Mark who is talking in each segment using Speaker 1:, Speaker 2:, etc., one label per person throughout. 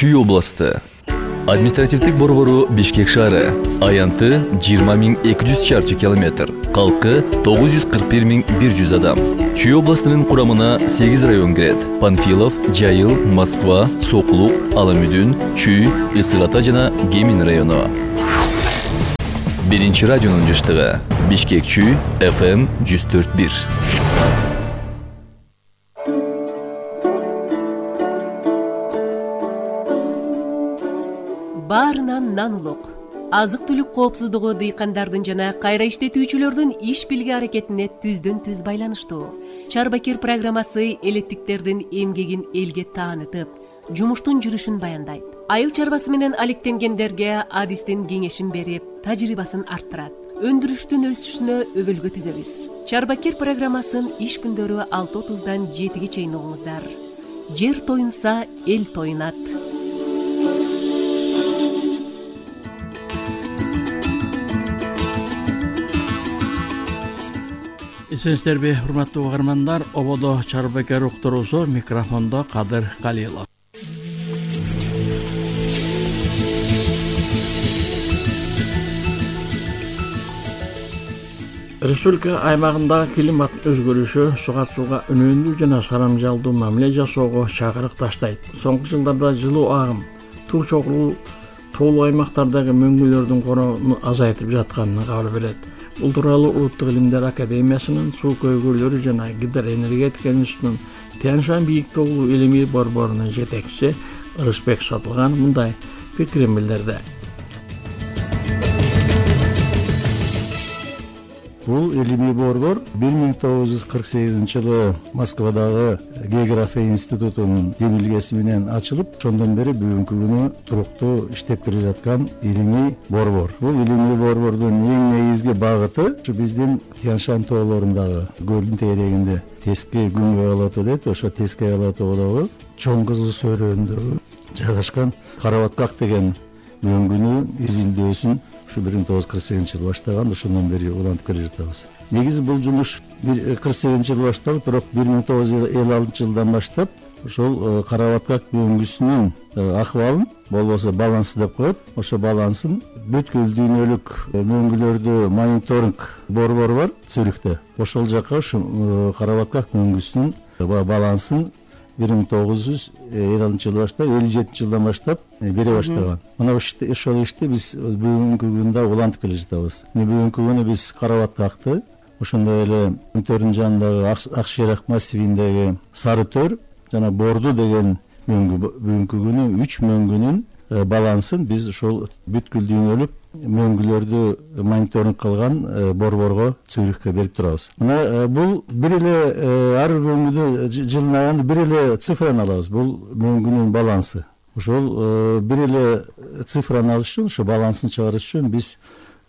Speaker 1: Чүй областы. Административдик борбору Бишкек шаары. Аянты 20.200 чарчы километр. Калкы 941.100 адам. Чүй областынын курамына 8 район кирет. Панфилов, Жайыл, Москва, Сокулук, Аламүдүн, Чүй, Ысык Ата жана Кемин району. Биринчи радионун жыштыгы. Бишкек Чүй, FM 104.1.
Speaker 2: Баарынан нан улук. Азык-түлүк коопсуздугу дыйкандардын жана кайра иштетүүчүлөрдүн иш билги аракетине түздөн-түз байланыштуу. Чарбакер программасы элеттиктердин эмгегин элге таанытып, жумуштун жүрүшүн баяндайт. Айыл чарбасы менен алектенгендерге адистин кеңешин берип, тажрыйбасын арттырат. Өндүрүштүн өсүшүнө өбөлгө түзөбүз. Чарбакер программасын иш күндөрү 6:30-дан 7-ге чейин угуңуздар. Жер тоюнса, эл тоюнат.
Speaker 3: Эсенсиздерби, урматтуу угармандар, ободо Чарбакер уктуруусу, микрофондо Кадыр Калилов. Республика аймагындагы климат өзгөрүшү суга үнөмдүү жана сарамжалдуу мамиле жасоого чакырык таштайт. Соңку жылдарда жылуу агым, туу чогуу тоолуу аймактардагы мөңгүлөрдүн коронун азайтып жатканына кабар берет. Бул тууралуу Улуттук илимдер академиясынын суу көйгөйлөрү жана гидроэнергетика институтунун Тянь-Шань бийик тоолуу илимий борборунун жетекчиси Ырысбек Сатылган мындай пикирин билдирди.
Speaker 4: Бул илимий борбор 1948-жылы Москвадагы география институтунун демилгеси менен ачылып, ошондон бери бүгүнкү күнү туруктуу иштеп келе жаткан илимий борбор. Бул илимий борбордун эң негизги багыты ушу биздин Тянь-Шань тоолорундагы көлдүн тегерегинде Тески Күнгөй Алатоо дейт, ошо Тески Алатоодогу Чоң Кызыл Сөрөндөгү жайгашкан Карабаткак деген мөңгүнүн изилдөөсүн ушу 1948-жылы баштаган, ошондон бери улантып келе жатабыз. Негизи бул жумуш 48-жылы башталып, бирок 1956-жылдан баштап ошол Карабаткак мөңгүсүнүн акыбалын, болбосо балансы деп коет, ошо балансын бүткүл дүйнөлүк мөңгүлөрдү мониторинг борбору бар Цюрихте. Ошол жака ушу Карабаткак мөңгүсүнүн балансын 1956-жылы баштап, 57-жылдан баштап бере баштаган. Мына ошол ишти биз бүгүнкү күндө улантып келе жатабыз. Бүгүнкү күнү биз Карабаткакты, ошондой эле Өтөрдүн жанындагы Акшыйрак массивиндеги Сары Төр жана Борду деген бүгүнкү күнү 3 мөңгүнүн балансын биз ошол бүткүл дүйнөлүк мөңгүлөрдү мониторинг кылган борборго Цюрихке берип турабыз. Мына бул бир эле ар бир мөңгүдө жылдын аягында бир эле цифраны алабыз. Бул мөңгүнүн балансы. Ошол бир эле цифраны алыш үчүн, ошо балансын чыгарыш үчүн биз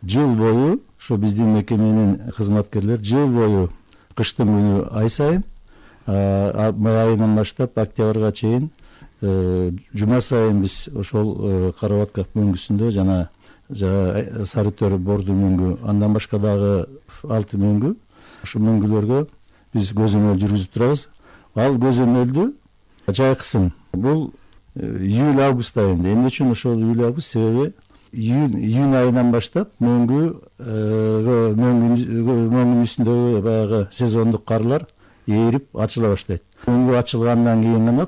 Speaker 4: жыл бою, ошо биздин мекеменин кызматкерлери жыл бою кыштын күнү ай сайын, май айынан баштап октябрга чейин жума сайын биз ошол Карабаткак мөңгүсүндө жана Сары Төр Борду мөңгү, андан башка дагы 6 мөңгү, ошо мөңгүлөргө биз көзөмөл жүргүзүп турабыз. Ал көзөмөлдү жайкысын. Бул июль-август айында. Эмне үчүн ошол июль-август? Себеби июнь айынан баштап мөңгүнүн үстүндөгү баягы сезондук карлар ээрип ачыла баштайт. Мөңгү ачылгандан кийин гана,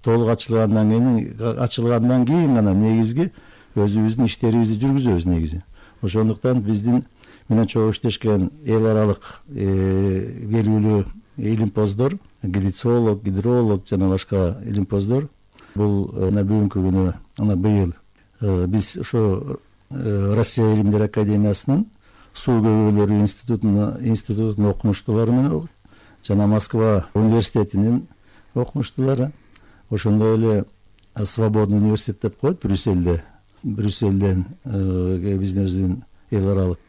Speaker 4: толук ачылгандан кийин гана негизги өзүбүздүн иштерибизди жүргүзөбүз негизи. Ошондуктан биздин менен чогуу иштешкен эл аралык белгилүү илимпоздор, глицолог, гидролог жана башка илимпоздор бул бүгүнкү күнү быйыл биз ошо Россия илимдер академиясынын суу көйгөйлөрү институтунун окумуштуулары менен жана Москва университетинин окумуштуулары, ошондой эле Свободный университет деп коет Брюссельден биздин өзүнүн эл аралык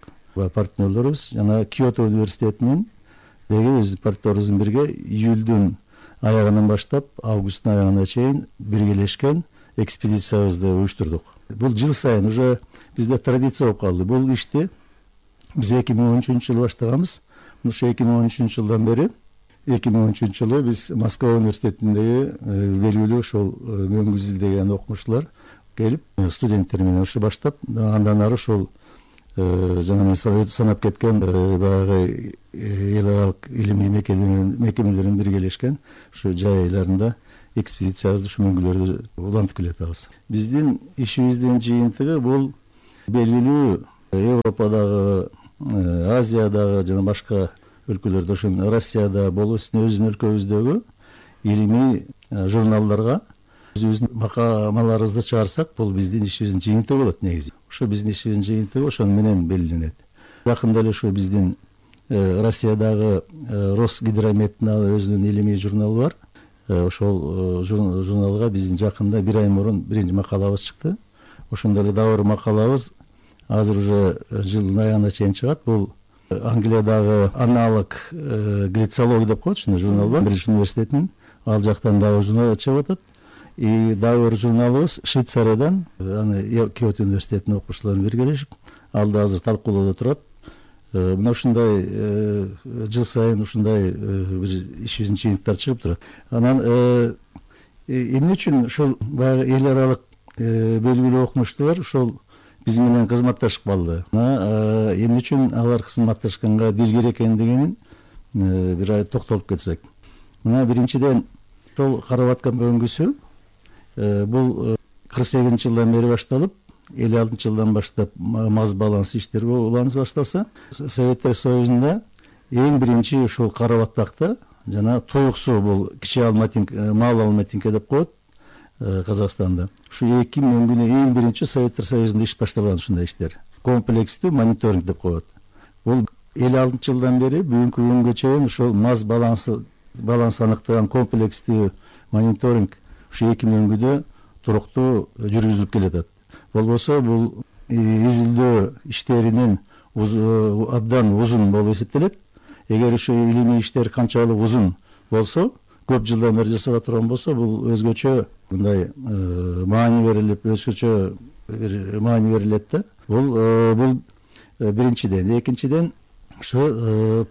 Speaker 4: партнерлорубуз, жана Киото университетинин деги өз партнерибиздин бирге июлдун аягынан баштап августтун аягына чейин биргелешкен экспедициябызды уюштурдук. Бул жыл сайын уже бизде традиция болуп калды. Бул ишти биз 2013-жылы баштаганбыз. Ошо 2013-жылдан бери 2013 жылы биз Москва университетиндеги белгилүү ошол мөңгү изилдеген окумуштуулар келип студенттер менен ушу баштап, андан ары ошол жана мен санап кеткен баягы эл аралык илимий мекемелерин биргелешкен ушу жай айларында экспедициябызды ушу мөңгүлөрдү улантып келатабыз. Биздин ишибиздин жыйынтыгы бул белгилүү Европадагы, Азиядагы жана башка өлкөлөрдө, ошо Россияда болуп, өзүбүздүн өлкөбүздөгү илимий журналдарга өзүбүздүн макалаларыбызды чыгарсак, бул биздин ишибиздин жыйынтыгы болот негизи. Ошо биздин ишибиздин жыйынтыгы ошону менен белгиленет. Жакында эле ошо биздин Россиядагы Росгидрометтин өзүнүн илимий журналы бар. Ошол журналга биздин жакында 1 ай мурун биринчи макалабыз чыкты. Ошондой эле дагы бир макалабыз азыр уже жылдын аягына чейин чыгат. Бул Англиядагы аналог глицология деп коет, ушундай журнал бар, Бритиш университетинин. Ал жактан дагы журнал чыгып атат. И дагы бир журналыбыз Швейцариядан, аны Киото университетинин окуучулары биргелешип, ал да азыр талкуулоодо турат. Мына ушундай жыл сайын ушундай бир ишибиздин жыйынтыктары чыгып турат. Анан эмне үчүн ушул баягы эл аралык белгилүү окумуштуулар ушул биз менен кызматташып калды. Эмне үчүн алар кызматташканга дил керек экендигин бир токтолуп кетсек. Мына биринчиден ошол карап аткан мөңгүсү бул 48-жылдан бери башталып, 56-жылдан баштап маз баланс иштери уланып баштаса, Советтер Союзунда эң биринчи ушул Карабаттакта жана Туюк суу, бул кичи Алматинка, Мал Алматинка деп коет Казакстанда. Ушу эки мөңгүнү эң биринчи Советтер Союзунда иш башталган ушундай иштер. Комплекстүү мониторинг деп коет. Бул 56-жылдан бери бүгүнкү күнгө чейин ушул маз баланс аныктаган комплекстүү мониторинг ушу эки мөңгүдө туруктуу жүргүзүлүп келатат. Болбосо бул изилдөө иштеринин абдан узун болуп эсептелет. Эгер ушу илимий иштер канчалык узун болсо, көп жылдан бери жасала турган болсо, бул өзгөчө мындай маани берилип, өзгөчө бир маани берилет да. Бул биринчиден. Экинчиден, ошо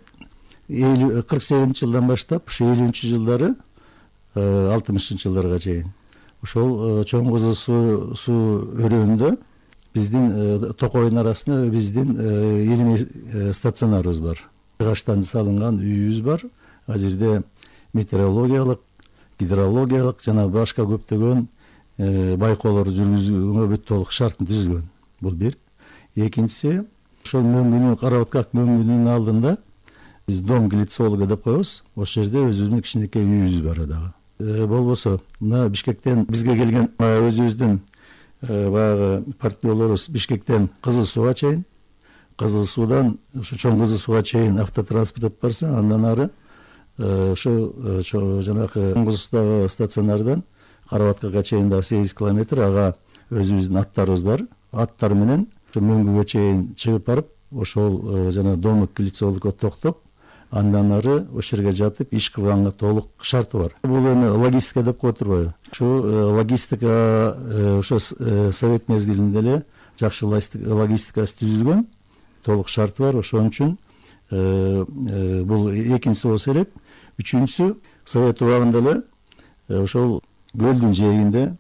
Speaker 4: 48-жылдан баштап, ушу 50-жылдары 60-жылдарга чейин ошол чоң кызыл суу өрөөнүндө биздин Токойдун арасында биздин илимий стационарыбыз бар. Жыгачтан салынган үйүбүз бар. Ал жерде метеорологиялык, гидрологиялык жана башка көптөгөн байкоолорду жүргүзүүгө бүт толук шартын түзүлгөн. Бул бир. Экинчиси, ошол мөңгүнү карап аткак мөңгүнүн алдында биз дом глицолога деп коебуз. Ошол жерде өзүбүздүн кичинекей үйүбүз бар дагы. Болбосо, мына Бишкектен бизге келген өзүбүздүн баягы партнерлорубуз Бишкектен Кызыл сууга чейин, Кызыл суудан ушу чоң Кызыл сууга чейин автотранспорт алып барса, андан ары ошо жанагы чоң Кызыл суудагы стационардан Карабаткага чейин да 8 километр, ага өзүбүздүн аттарыбыз бар. Аттар менен ошо мөңгүгө чейин чыгып барып, ошол жана домик глицологко токтоп, андан ары ошол жерге жатып иш кылганга толук шарты бар. Бул эми логистика деп коет турбайбы? Ушу логистика ошо совет мезгилинде эле жакшы логистикасы түзүлгөн, толук шарты бар. Ошон үчүн бул экинчиси болсо керек. Үчүнчүсү, совет убагында эле ошол көлдүн жээгинде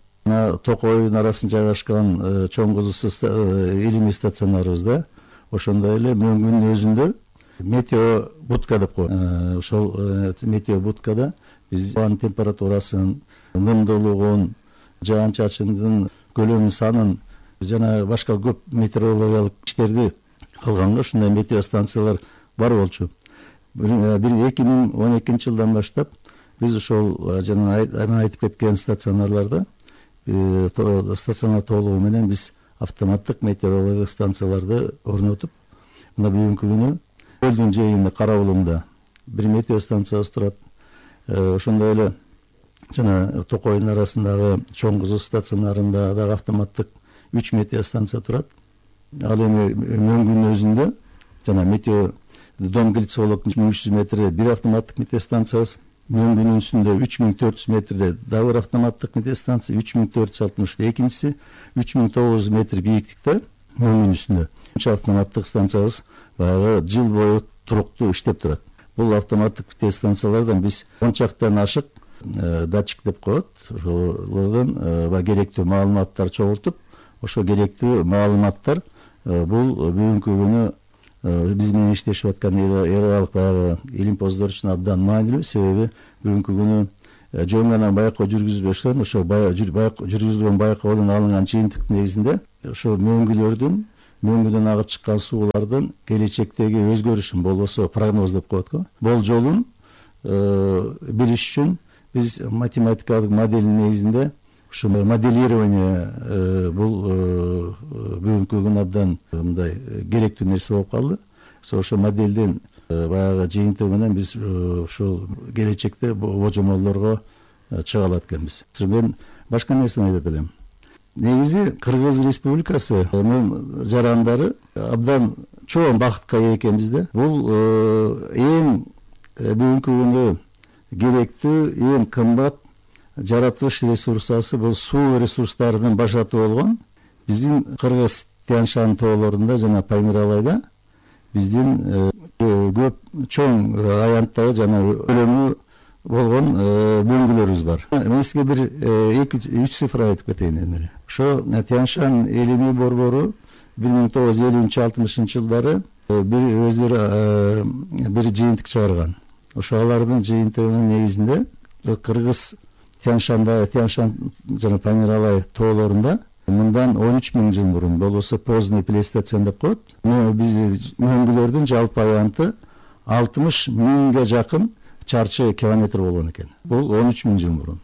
Speaker 4: Токойдун арасында жайгашкан чоң Кызыл суу илимий стационарыбызда ошондой эле мөңгүнүн өзүндө метео будка деп коет. Ошол метео будкада биз абанын температурасын, нымдуулугун, жаан-чачындын көлөмүн, санын жана башка көп метеорологиялык иштерди кылганга ушундай метео станциялар бар болчу. 2012-жылдан баштап биз ошол жана мен айтып кеткен стационарларда стационар толугу менен биз автоматтык метеорологиялык станцияларды орнотуп, мына бүгүнкү күнү көлдүн жээгинде Карабулумда бир метео станциябыз турат. Ошондой эле жана Токойдун арасындагы чоң Кызыл стационарында дагы автоматтык 3 метео станция турат. Ал эми мөңгүнүн өзүндө жана метео дом глицологдун 300 метрде бир автоматтык метео станциябыз, мөңгүнүн үстүндө 3400 метрде дагы бир автоматтык метео станция, 3460. Экинчиси 3900 метр бийиктикте мөңгүнүн үстүндө автоматтык станциябыз баягы жыл бою туруктуу иштеп турат. бул автоматтык тест станциялардан биз 10 чактан ашык датчик деп коет, ошолордон керектүү маалыматтар чогултуп, ошо керектүү маалыматтар бул бүгүнкү күнү биз менен иштешип аткан эралык баягы илимпоздор үчүн абдан маанилүү. Себеби бүгүнкү күнү жөн гана байкоо жүргүзбөстөн ошо жүргүзүлгөн байкоодон алынган жыйынтык негизинде ошо мөңгүдөн агып чыккан суулардын келечектеги өзгөрүшүн, болбосо прогноз деп коет го, болжолун билиш үчүн биз математикалык моделдин негизинде ушу моделирование бул бүгүнкү күнү абдан мындай керектүү нерсе болуп калды. Ошо моделдин баягы жыйынтыгы менен биз ушул келечекте божомолдорго чыга алат экенбиз. Мен башка нерсени айтат элем. Негизи Кыргыз Республикасынын жарандары абдан чоң бакытка ээ экенбиз да. Бул эң бүгүнкү күндө керектүү, эң кымбат жаратылыш ресурсасы бул суу ресурстарынын башаты болгон биздин Кыргыз Тянь-Шань тоолорунда жана Памир Алайда биздин көп чоң аянттагы жана өлөмү болгон мөңгүлөрүбүз бар. Мен сизге бир 2-3 цифра айтып кетейин эле. Ошо Тянь-Шань элимий борбору 1950-60 жылдары өздөрү бир жыйынтык чыгарган. Ошо алардын жыйынтыгынын негизинде Кыргыз Тянь-Шань жана Памир Алай тоолорунда мындан 13 000 жыл мурун, болбосо поздний плейстоцен деп коет, биз мөңгүлөрдүн жалпы аянты 60 000ге жакын чарчы километр болгон экен. Бул 13 000 жыл мурун.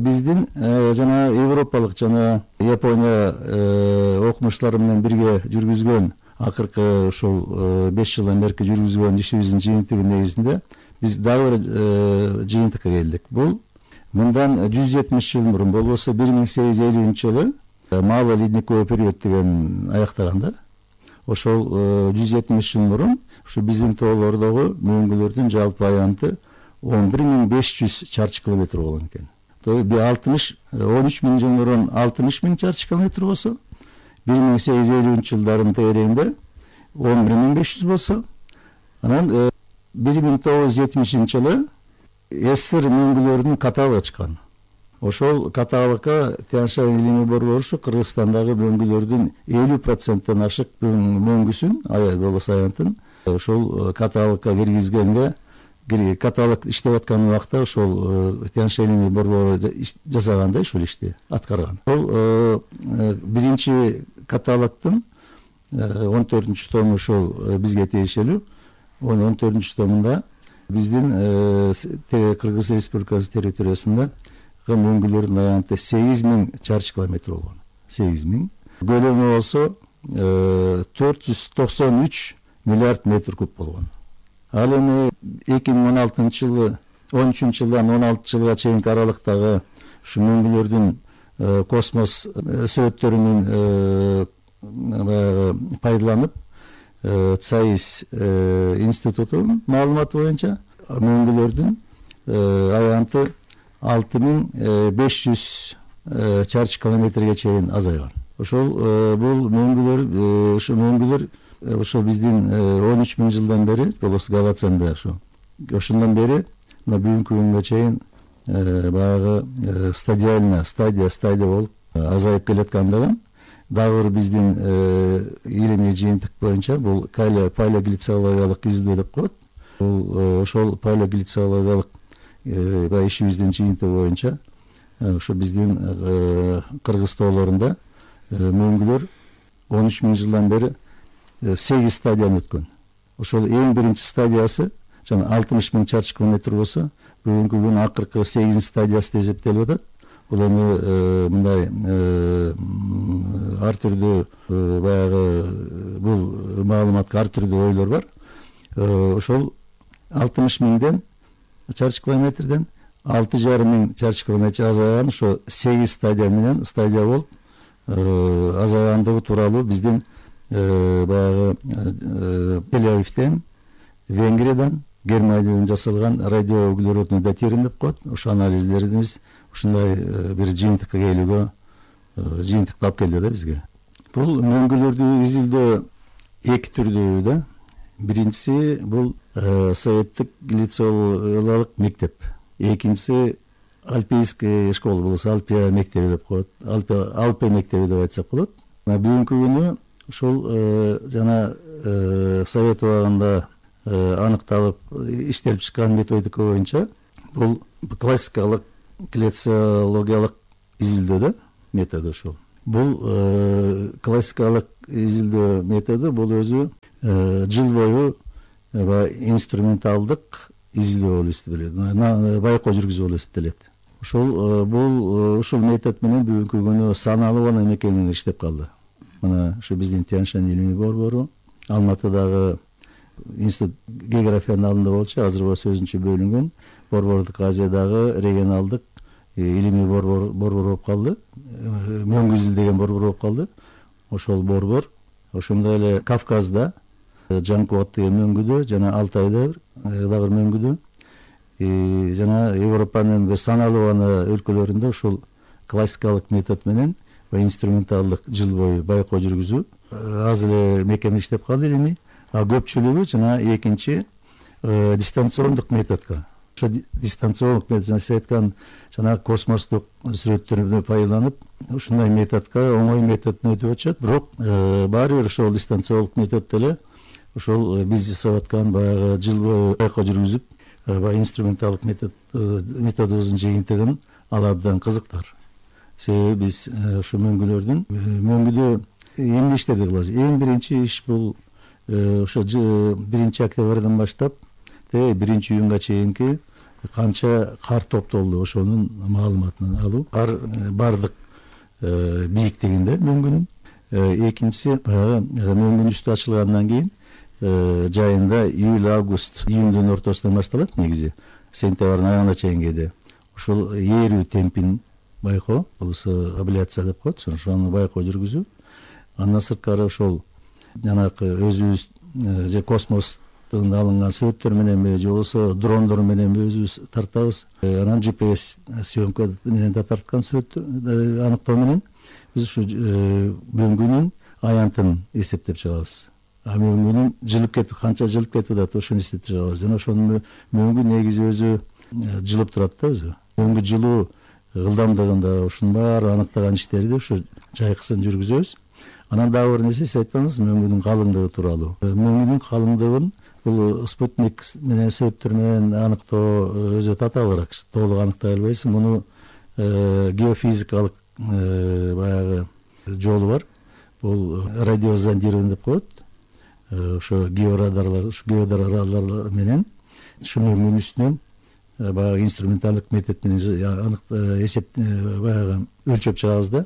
Speaker 4: Биздин жана европалык жана Япония окумуштары менен бирге жүргүзгөн акыркы ушул 5 жылдан бери жүргүзгөн ишибиздин жыйынтыгы негизинде биз дагы бир жыйынтыкка келдик. Бул мындан 170 жыл мурун, болбосо 1850-жылы Малый ледниковый период деген аяктаганда, ошол 170 жыл мурун ушу биздин тоолордогу мөңгүлөрдүн жалпы аянты 11 500 чарчы километр болгон экен. 13 000 жыл мурун 60 000 чарчы километр болсо, 1850-жылдардын тегерегинде 11 500 болсо, анан 1970-жылы СССР мөңгүлөрүнүн каталыгы чыккан. Ошол каталыкка Тянь-Шань элимий борбору Кыргызстандагы мөңгүлөрдүн 50%-тен ашык мөңгүсүн, болбосо аянтын ошол каталыкка киргизгенге, каталык иштеп аткан убакта ошол Тянь-Шань элимий борбору жасагандай ушул ишти аткарган. Ол биринчи каталыктын 14-чү тому ошол бизге тиешелүү. 14-чү томунда биздин Кыргыз Республикасы территориясында мөңгүлөрдүн аянты 8 000 чарчы километр болгон. 8 000. Көлөмү болсо 493 миллиард метр куб болгон. Ал эми 2016-жылы 13-жылдан 16 жылга чейинки аралыктагы ушу мөңгүлөрдүн космос сүрөттөрүнүн пайдаланып ЦАИС институтунун маалыматы боюнча мөңгүлөрдүн аянты 6500 чарчы километрге чейин азайган. Ошол бул мөңгүлөр ошо биздин 13 000 жылдан бери, болбосо Галацанда ошондон бери бүгүнкү күнгө чейин баягы стадия болуп азайып келаткандыгын дагы бир биздин илимий жыйынтык боюнча бул палеоглициологиялык издөө деп коет. Бул ошол палеоглициологиялык ишибиздин жыйынтыгы боюнча ошо биздин Кыргыз тоолорунда мөңгүлөр 13 000 жылдан бери 8 стадияны өткөн. Ошол эң биринчи стадиясы жана 60 000 чарчы километр болсо, бүгүнкү күн акыркы 8 стадиясы деп эсептелип атат. Бул эми мындай ар түрдүү баягы бул маалыматка ар түрдүү ойлор бар. Ошол 60 000 чарчы километрден 6,5 000 чарчы километр азайган ошо 8 стадия менен стадия болуп азайгандыгы тууралуу биздин баягы Тель-Авивден, Венгриядан, Германиядан жасалган радиоуглеродный датирование деп коет. Ошо анализдерибиз ушундай бир жыйынтыкка келүүгө жыйынтыктап келди да бизге. Бул мөңгүлөрдү изилдөө эки түрдүү да. Биринчиси бул советтик лицеолык мектеп. Экинчиси Альпийская школа болсо Алпия мектеби деп коет. Алпия мектеби деп айтсак болот. Бүгүнкү күнү ушул жана совет убагында аныкталып иштелип чыккан методика боюнча бул классикалык клециологиялык изилдөө методу ушул. Бул классикалык изилдөө методу бул өзү жыл бою инструменталдык изилдөө болуп эсептелет, байкоо жүргүзүү болуп эсептелет. Ушул метод менен бүгүнкү күнү саналуу гана мекемелер иштеп калды. Мына ушу биздин Тянь-Шань илимий борбору, Алматыдагы институт географиянын алдында болчу, азыр болсо өзүнчө бөлүнгөн Борбордук Азиядагы регионалдык илимий борбор болуп калды. Мөңгүзүл деген борбор болуп калды. Ошол борбор ошондой эле Кавказда Жанкулат деген мөңгүдө жана Алтайда дагы мөңгүдө жана Европанын бир саналуу гана өлкөлөрүндө ушул классикалык метод менен инструменталдык жыл бою байкоо жүргүзүү аз эле мекеме иштеп калды илимий, а көпчүлүгү жана экинчи дистанциондук методко. Ошо дистанциондук метод сиз айткан жана космостук сүрөттөрдү пайдаланып ушундай методко оңой методдон өтүп атышат, бирок баары бир ошол дистанциондук метод деле ошол биз жасап аткан баягы жыл бою байкоо жүргүзүп инструменталдык методубуздун жыйынтыгын ала абдан кызыктар. Себеби биз ушу мөңгүдө эмне иштерди кылабыз? Эң биринчи иш бул ошо 1 октябрдан баштап 1 июнга чейинки канча кар топтолду ошонун маалыматын алуу. Кар бардык бийиктигинде мөңгүнүн. Экинчиси мөңгүнүн үстү ачылгандан кийин жайында июндун ортосунан башталат негизи. Сентябрдын аягына чейин кээде. Ушул ээрүү темпин байкоо, болсо абляция деп коет, ошону байкоо жүргүзүү. Андан сырткары ошол жанакы өзүбүз же космостон алынган сүрөттөр мененби же болбосо дрондор мененби өзүбүз тартабыз. Анан GPS съемка менен да тарткан сүрөттөр аныктоо менен биз ушу мөңгүнүн аянтын эсептеп чыгабыз. Мөңгүнүн канча жылып кетип атат ошону эсептеп чыгабыз. Жана ошонун мөңгү негизи өзү жылып турат да өзү. Мөңгү жылуу ылдамдыгында ушунун баары аныктаган иштерди ушу жайкысын жүргүзөбүз. Анан дагы бир нерсе, сиз айтканыңыз мөңгүнүн калыңдыгы тууралуу. Мөңгүнүн калыңдыгын бул спутник менен сүрөттөр менен аныктоо өзү татаалыраак, толук аныктай албайсың. Муну геофизикалык баягы жолу бар. Бул радиозондирование деп коет. Ошо геодарлар менен ушу мөңгүнүн үстүнөн баягы инструменталдык метод менен эсеп баягы өлчөп чыгабыз да.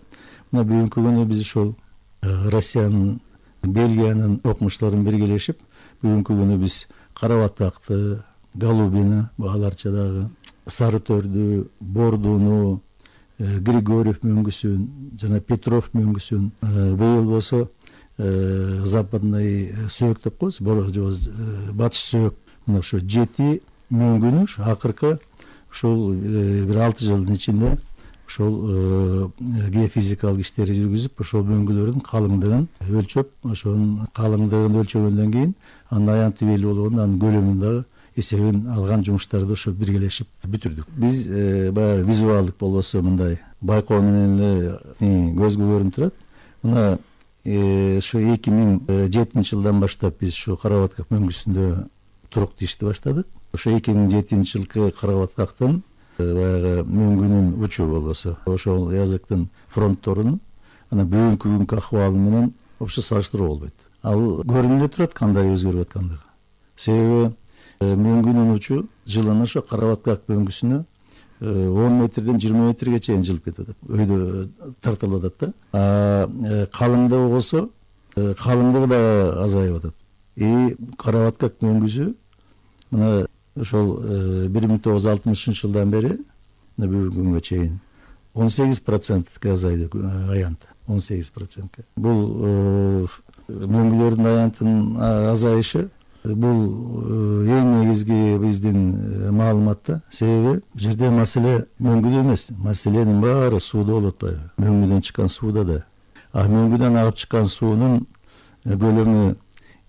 Speaker 4: Мына бүгүнкү күнү биз ушул Россиянын, Бельгиянын окумуштарын биргелешип, бүгүнкү күнү биз Карабатакты, Голубина, аларча дагы Сары Төрдү, Бордуну, Григорьев мөңгүсүн жана Петров мөңгүсүн, быйыл болсо западный сөөк деп коебуз, батыш сөөк. Мына ушу 7 мөңгүнү акыркы ушул бир 6 жылдын ичинде ошол геофизикалык иштерди жүргүзүп, ошол мөңгүлөрдүн калыңдыгын өлчөп, ошонун калыңдыгын өлчөгөндөн кийин анын аянты белгилүү болгондо анын көлөмүн дагы эсебин алган жумуштарды ошо биргелешип бүтүрдүк. Биз баягы визуалдык болбосо мындай байкоо менен эле көзгө көрүнүп турат. Мына ошо 2007 жылдан баштап биз ушу Карабатак мөңгүсүндө туруктуу ишти баштадык. Ошо 2007 жылкы Карабатактын баягы мөңгүнүн учу болбосо ошол языктын фронтторунун анан бүгүнкү күnkү акыбалы менен вообще салыштыруу болбойт. Ал көрүнүп турат кандай өзгөрүп аткандыгы. Себеби мөңгүнүн учу жылына ошо Карабатак мөңгүсүнө 10 метрден 20 метрге чейин жылып кетип атат. Өйдө тартылып атат да. Калыңдыгы болсо калыңдыгы да азайып атат. Карабатак мөңгүсү мына ошол 1960 жылдан бери бүгүнкү күнгө чейин 18%га азайды аянт. 18%. Бул мөңгүлөрдүн аянтынын азайышы бул эң негизги биздин маалыматта. Себеби бул жерде маселе мөңгүдө эмес, маселенин баары сууда болуп атпайбы? Мөңгүдөн чыккан сууда да. Мөңгүдөн агып чыккан суунун көлөмү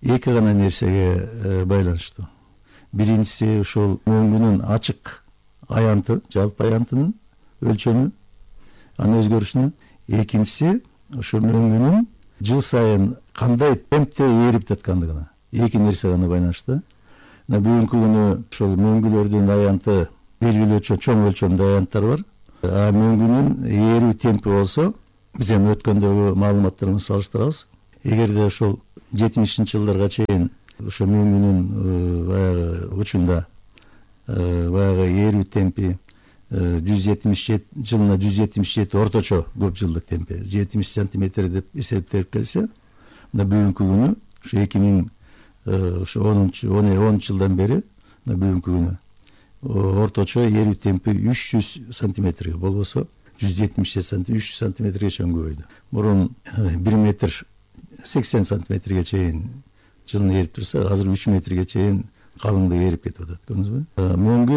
Speaker 4: эки гана нерсеге байланыштуу. Биринчиси ошол мөңгүнүн ачык аянты, жалпы аянтынын өлчөмү, анын өзгөрүшүнө. Экинчиси ошол мөңгүнүн жыл сайын кандай темпте ээрип жаткандыгына. Эки нерсе гана байланыштуу. Бүгүнкү күнү ошол мөңгүлөрдүн аянты белгилүү чоң өлчөмдө аянттар бар. Мөңгүнүн ээрүү темпи болсо, биз эми өткөндөгү маалыматтар менен салыштырабыз. Эгерде ошол 70-жылдарга чейин ошо мөңгүнүн баягы учунда баягы ээрүү темпи 177 жылына 177 орточо көп жылдык темпи 70 сантиметр деп эсептелип келсе, бүгүнкү күнү ошо 2010 жылдан бери бүгүнкү күнү орточо ээрүү темпи 300 сантиметрге, болбосо 177 сантиметр 300 сантиметрге чейин көбөйдү. Мурун 1 метр 80 сантиметрге чейин жылын ээрип турса, азыр 3 метрге чейин калыңдыгы ээрип кетип атат. Көрдүңүзбү? Мөңгү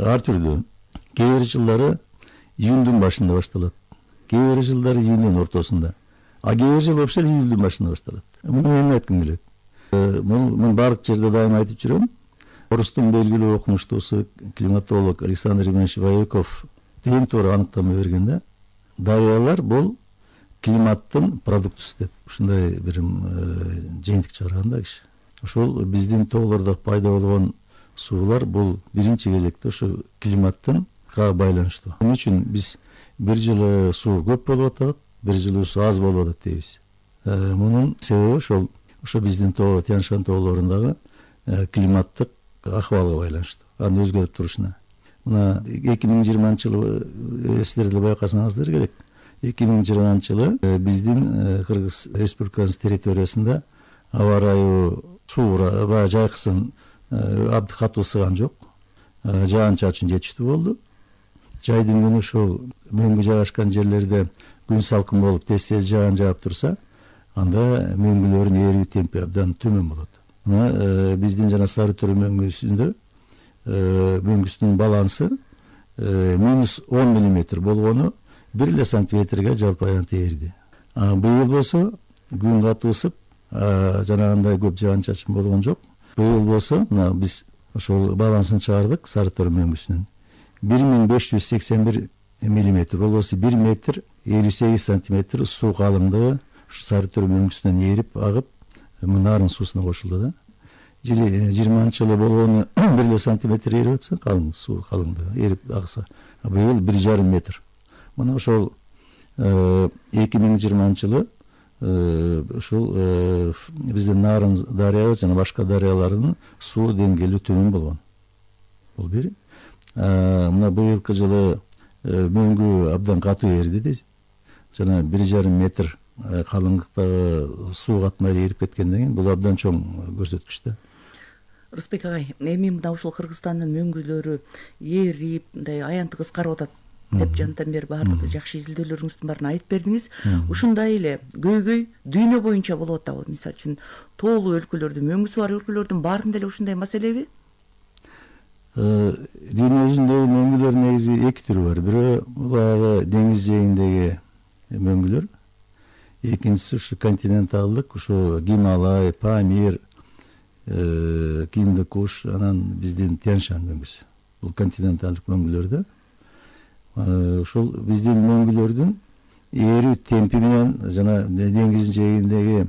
Speaker 4: ар түрдүү. Кээ бир жылдары июндун башында башталат. Кээ бир жылдары июндун ортосунда. А кээ бир жыл вообще июлдун башында башталат. Муну эмне айткым келет? Мен баардык жерде дайыма айтып жүрөм. Орустун белгилүү окумуштуусу климатолог Александр Иванович Вояков эң туура аныктама берген да. Дарыялар бул климаттын продуктусу деп ушундай бир жыйынтык чыгарган да киши. Ошол биздин тоолордо пайда болгон суулар бул биринчи кезекте ошо климаттын байланыштуу. Эмне үчүн биз бир жылы суу көп болуп атат, бир жылы суу аз болуп атат дейбиз. Мунун себеби ошо биздин Тянь-Шань тоолорундагы климаттык акыбалга байланыштуу, анын өзгөрүп турушуна. Мына 2020-жылы сиздер деле байкасаңыздар керек. 2020-жылы биздин Кыргыз Республикасынын территориясында аба ырайы суура баягы жайкысын абды катуу сыган жок. Жаан-чачын жетиштүү болду. Жайдын күнү ошол мөңгү жайгашкан жерлерде күн салкын болуп тез жаан жаап турса, анда мөңгүлөрдүн ээрүү темпи абдан төмөн болот. Мына биздин жана Сары Төрө мөңгүсүнүн балансы -10 мм болгону 1 сантиметрге жалпы аянты ээрди. Быйыл болсо күн катуу ысып, жанагындай көп жаан-чачын болгон жок. Быйыл болсо мына биз ошол балансын чыгардык Сары Төрө мөңгүсүнүн 1581 мм болбосо 1 метр 58 сантиметр суу калыңдыгы Сары Төрө мөңгүсүнөн ээрип агып Мынарын суусуна кошулду да. 20-жылы болгону 1 сантиметр ээрип атса, суу калыңдыгы ээрип агса, быйыл 1,5 метр. Мына ошол 2020-жылы ушул биздин Нарын дарыябыз жана башка дарыялардын суу деңгээли төмөн болгон. Бул бир. Мына быйылкы жылы мөңгү абдан катуу ээрди дейт. Жана 1,5 метр калыңдыктагы суу катмай ээрип кеткенден кийин бул абдан чоң көрсөткүч да.
Speaker 5: Рысбек агай, эми мына ушул Кыргызстандын мөңгүлөрү ээрип, мындай аянты кыскарып атат деп жандан бери баардык жакшы изилдөөлөрүңүздүн баарын айтып бердиңиз. Ушундай эле көйгөй дүйнө боюнча болуп атабы? Мисалы үчүн тоолуу өлкөлөрдүн, мөңгүсү бар өлкөлөрдүн баарында эле ушундай маселеби?
Speaker 4: Дүйнө жүзүндөгү мөңгүлөр негизи эки түрү бар. Бирөө баягы деңиз жээгиндеги мөңгүлөр. Экинчиси ушу континенталдык, ушу Гималай, Памир, Киндикуш, анан биздин Тянь-Шань мөңгүсү. Бул континенталдык мөңгүлөр да. Ошол биздин мөңгүлөрдүн ээрүү темпи менен жана деңиз жээгиндеги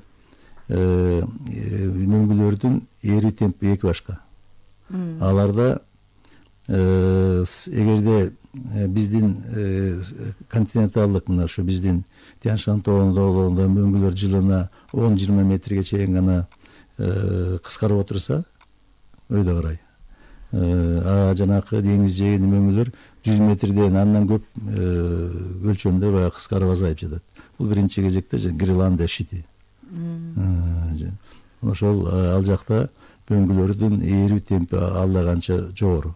Speaker 4: мөңгүлөрдүн ээрүү темпи эки башка. Аларда эгерде биздин континенталдык мына ушу биздин Тянь-Шань тоолорунда мөңгүлөр жылына 10-20 метрге чейин гана кыскарып отурса, өйдө карай. Жанакы деңиз жээгиндеги мөңгүлөр 100 метрден андан көп өлчөмдө баягы кыскарып азайып жатат. Бул биринчи кезекте Гренландия шити. Ошол ал жакта мөңгүлөрдүн ээрүү темпи алда канча жогору.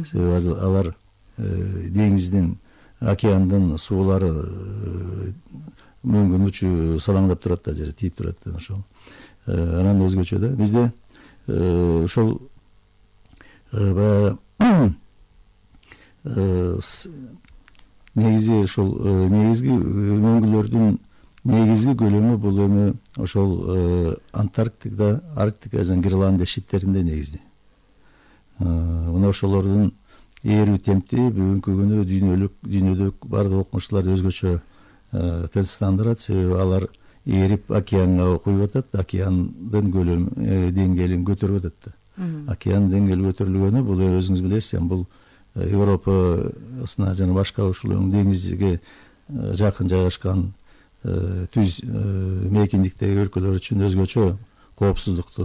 Speaker 4: Себеби алар деңиздин, океандын суулары мөңгүнүн учу салаңдап турат да, жер тийип турат да ошол. Анан өзгөчө да бизде ошол баягы негизи ошол негизги мөңгүлөрдүн негизги көлөмү бул эми ошол Арктика жана Гренландия шиттеринде негизги. Мына ошолордун ээрүү темпти бүгүнкү күнү дүйнөдө баардык окумуштуулар өзгөчө тынчтандырат, себеби алар ээрип океанга куюп атат, океандын деңгээлин көтөрүп атат да. Океан деңгээли көтөрүлгөнү бул өзүңүз билесиз, бул Европасына жана башка ушул деңизге жакын жайгашкан түз мейкиндиктеги өлкөлөр үчүн өзгөчө коопсуздукту